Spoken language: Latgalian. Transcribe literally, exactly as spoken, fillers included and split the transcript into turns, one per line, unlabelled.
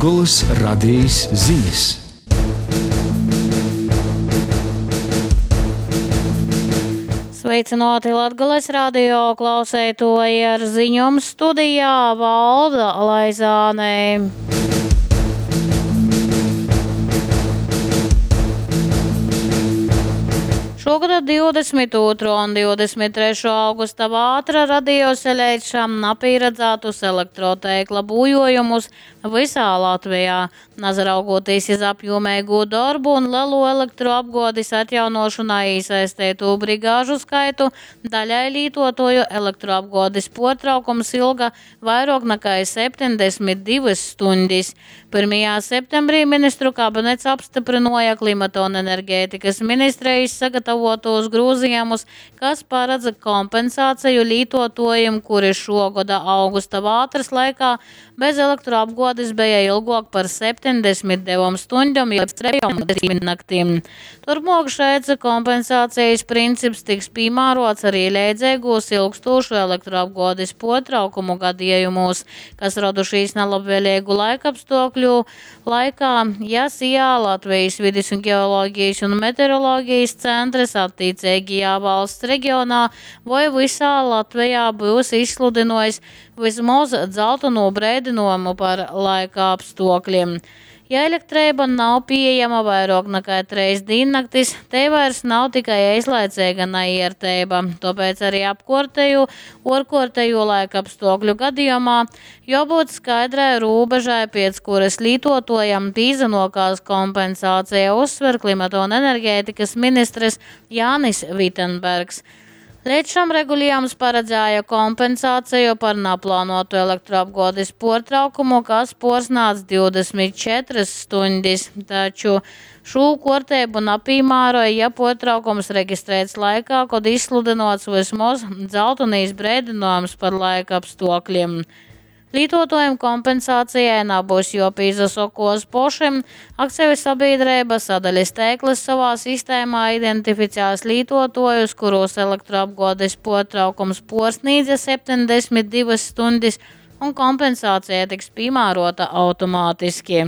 Latgolys Radejis zinis.
Sveicināti Latgales radio klauseitoji ar ziņom studijā Valda Laizāne. Šogada divdesmit ūtrō un divdesmit trešō augusta vātra radījusi līdz šam napieredzētus elektroteikla būjojumus visā Latvijā. Nazaraugoties iz apjomīgu darbu un lielu elektroapgādes atjaunošanā iesaistīto brigāžu skaitu, daļai lietotoju elektroapgādes pārtraukums ilga vairāk nekā septiņdesmit divas stundas. Pirmajā septembrī ministru kabinets apstiprināja klimata un enerģētikas ministrijas sagatavotos grozījumus, kas paredz kompensāciju lietotājiem, kuri šogada augusta vātras laikā bez elektroapgādes bija ilgāk par septiņdesmit divām stundām, jeb trejom diennaktīm. Turpmāk šāds kompensācijas princips tiks piemērots arī leidzīgos ilgstošu elektroapgādes potraukumu gadījumos, kas radušies nelabvēlīgu laikapstākļu laikā, ja S I A Latvijas vides un ģeoloģijas un meteoroloģijas centrs attiecīgajā valsts reģionā vai visā Latvijā būs izsludinājis vismaz dzelteno brīdinājumu par laika apstākļiem. Ja elektrība nav pieejama vairāk nekā treis diennaktis, te vairs nav tikai eislaicīga neiertība. Tāpēc arī apkortēju, orkortēju laikapstākļu gadījumā jābūt skaidrai robežai, pēc kuras lietotojam pīzenokās kompensācija, uzsver klimata un enerģētikas ministrs Jānis Vitenbergs. Līdz šam regulējums paredzēja kompensāciju par neplānotu elektroapgādes portraukumu, kas porsnāc divdesmit četras stundas, taču šo kārtību nepiemēroja, ja portraukums reģistrēts laikā, kad izsludinots vismaz dzeltenīs brīdinājums par laika apstākļiem. Lietotājiem kompensācijai nebūs jāpīzasokos pošiem. Akciju sabiedrība sadaļas tēklis savā sistēmā identificēs lietotājus, kuros elektroapgādes portraukums porsnīdza septiņdesmit divas stundas, un kompensācija tiks piemērota automātiski.